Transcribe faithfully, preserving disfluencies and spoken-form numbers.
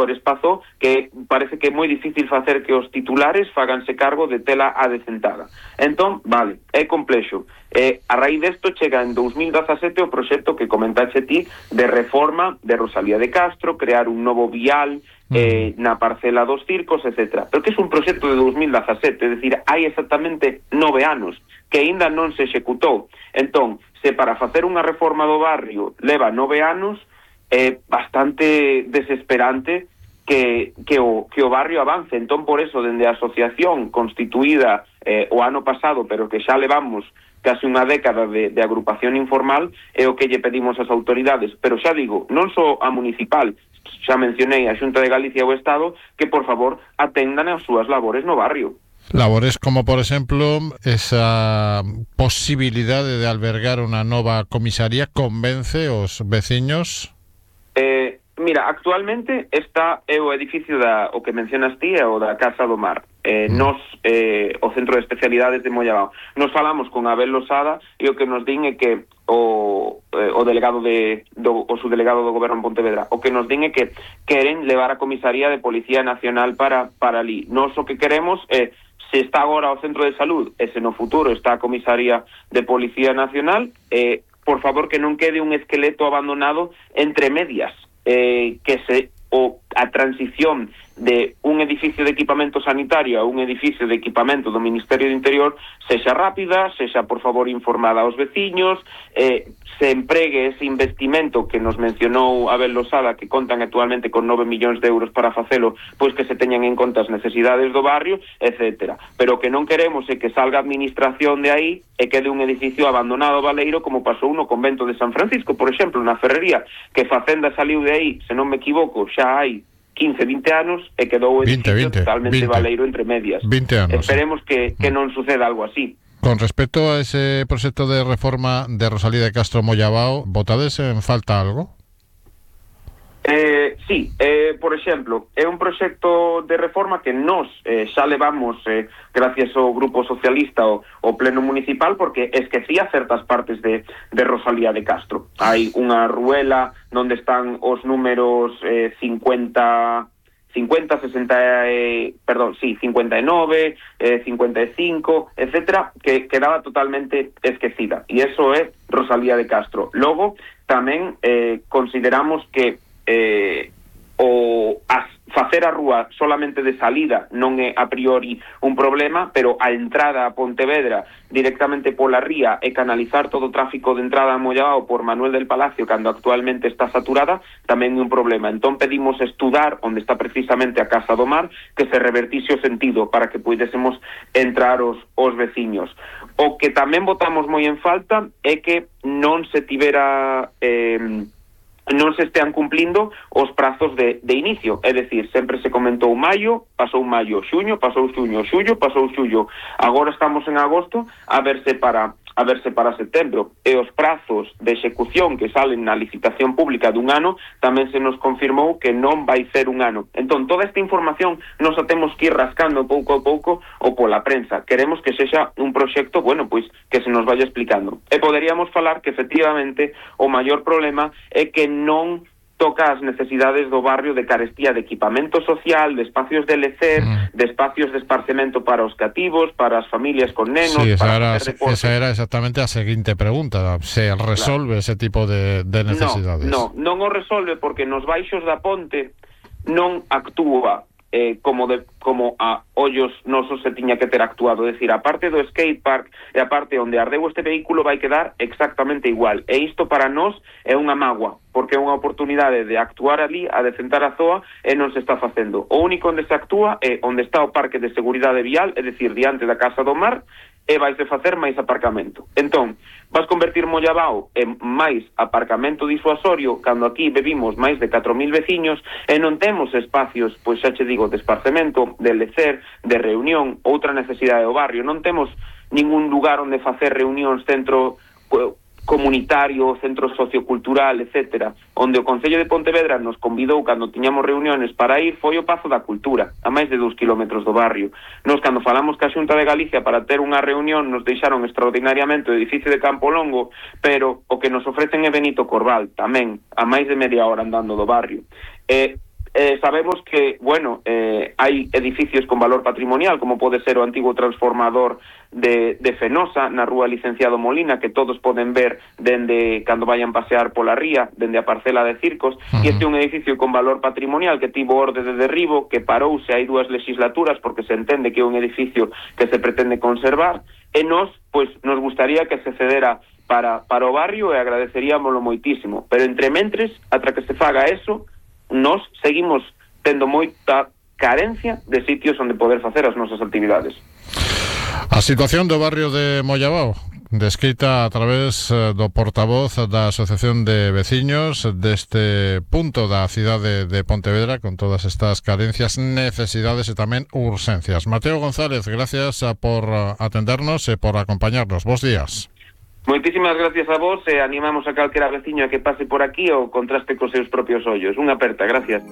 gestores Pazó, que parece que é moi difícil facer que os titulares faganse cargo de tela adecentada. Entón, vale, é complexo. Eh, a raíz desto chega en dous mil dezasete o proxecto que comentaxe ti de reforma de Rosalía de Castro, crear un novo vial eh, na parcela dos circos, etcétera. Pero que é un proxecto de dous mil dezasete, é dicir, hai exactamente nove anos que aínda non se executou. Entón, se para facer unha reforma do barrio leva nove anos, é bastante desesperante que, que, o, que o barrio avance. Entón, por eso, dende a asociación constituída eh, o ano pasado, pero que xa levamos casi unha década de, de agrupación informal, é o que lle pedimos ás autoridades. Pero xa digo, non só a municipal, xa mencionei a Xunta de Galicia e o Estado, que, por favor, atendan as súas labores no barrio. Labores como, por exemplo, esa posibilidade de albergar unha nova comisaría convence os veciños? Eh, mira, actualmente está é o edificio da, o que mencionas ti, é o da Casa do Mar. Eh, mm. Nos, eh, o Centro de Especialidades de Mollabao. Nos falamos con Abel Losada e o que nos din é que o, eh, o delegado de, do, o subdelegado do Goberno en Pontevedra, o que nos din é que queren levar a comisaría de Policía Nacional para, para ali. Nos o que queremos é eh, se está agora o Centro de Salud e se no futuro está a Comisaría de Policía Nacional, eh, por favor que non quede un esqueleto abandonado entre medias, eh, que se o a transición de un edificio de equipamento sanitario a un edificio de equipamento do Ministerio do Interior sexa rápida, sexa por favor informada aos veciños, eh, se empregue ese investimento que nos mencionou Abel Losada, que contan actualmente con nove millóns de euros para facelo, pois que se teñan en conta as necesidades do barrio, etcétera. Pero que non queremos é que salga a administración de aí e quede un edificio abandonado baleiro, como pasou no convento de San Francisco, por exemplo, na Ferrería, que Facenda saliu de aí, se non me equivoco, xa hai quince, vinte anos e quedou o edificio veinte, totalmente veinte, baleiro entre medias. vinte anos. Esperemos que, que non suceda algo así. Con respecto a ese proxecto de reforma de Rosalía de Castro Mollabao, votades en falta algo? Eh, sí, eh, por exemplo, é un proxecto de reforma que nós eh, xa levamos eh, gracias ao Grupo Socialista o, o Pleno Municipal, porque esquecía certas partes de, de Rosalía de Castro. Hai unha ruela onde están os números eh, cincuenta, cincuenta, sesenta, eh, perdón, sí, cincuenta e nove, eh, cincuenta e cinco, etcétera, que quedaba totalmente esquecida. E eso é Rosalía de Castro. Logo, tamén eh, consideramos que Eh, o as, facer a rúa solamente de salida non é a priori un problema, pero a entrada a Pontevedra directamente pola ría e canalizar todo o tráfico de entrada a Mollabao por Manuel del Palacio, cando actualmente está saturada, tamén é un problema. Entón pedimos estudar onde está precisamente a Casa do Mar, que se revertise o sentido para que puidésemos entrar os, os veciños. O que tamén votamos moi en falta é que non se tivera eh, non se estean cumplindo os prazos de, de inicio, é dicir, sempre se comentou maio, pasou maio, xuño, pasou xuño, xullo, pasou xullo, agora estamos en agosto, a verse para a verse para setembro, e os prazos de execución que salen na licitación pública dun ano tamén se nos confirmou que non vai ser un ano. Entón, toda esta información nos a temos que ir rascando pouco a pouco ou pola prensa. Queremos que sexa un proxecto, bueno, pois, que se nos vaya explicando. E poderíamos falar que, efectivamente, o maior problema é que non toca as necesidades do barrio de carestía de equipamento social, de espacios de lecer, mm. de espacios de esparcemento para os cativos, para as familias con nenos, sí, esa para era, esa era exactamente a seguinte pregunta. Se resolve claro. ese tipo de, de necesidades? No, no, non o resolve porque nos baixos da ponte non actúa eh, como de, como a ollos nosos se tiña que ter actuado, é dicir, a parte do skate park e a parte onde ardeu este vehículo vai quedar exactamente igual, e isto para nós é unha mágoa, porque é unha oportunidade de actuar ali, a decentar a zoa, e non se está facendo. O único onde se actúa é onde está o parque de seguridade vial, é dicir, diante da Casa do Mar, e vais de facer máis aparcamento. Entón, vas convertir Mollabao en máis aparcamento disuasorio, cando aquí bebimos máis de catro mil veciños e non temos espacios, pois xa che digo, de esparcemento, de lecer, de reunión, outra necesidade do barrio. Non temos ningún lugar onde facer reunións, centro comunitario, centro sociocultural, etcétera. Onde o Concello de Pontevedra nos convidou cando tiñamos reuniones para ir foi o Pazo da Cultura, a máis de dous kilómetros do barrio. Nos, cando falamos ca Xunta de Galicia para ter unha reunión, nos deixaron extraordinariamente o edificio de Campo Longo, pero o que nos ofrecen é Benito Corval, tamén, a máis de media hora andando do barrio. E eh, sabemos que, bueno, eh, hai edificios con valor patrimonial, como pode ser o antigo transformador de, de Fenosa, na rúa Licenciado Molina, que todos poden ver dende cando vayan pasear pola ría, dende a parcela de Circos. Uh-huh. E este é un edificio con valor patrimonial que tivo orde de derribo, que parouse hai dúas legislaturas porque se entende que é un edificio que se pretende conservar, e nos, pois, nos gustaría que se cedera para, para o barrio e agradeceríamoslo moitísimo. Pero entre mentres, atra que se faga eso, nos seguimos tendo moita carencia de sitios onde poder facer as nosas actividades. A situación do barrio de Mollabao, descrita a través do portavoz da Asociación de Veciños deste punto da cidade de Pontevedra, con todas estas carencias, necesidades e tamén urxencias. Mateo González, gracias por atendernos e por acompañarnos. Bos días. Moitísimas gracias a vos e animamos a calquera veciño a que pase por aquí ou contraste cos seus propios ollos. Unha aperta, gracias.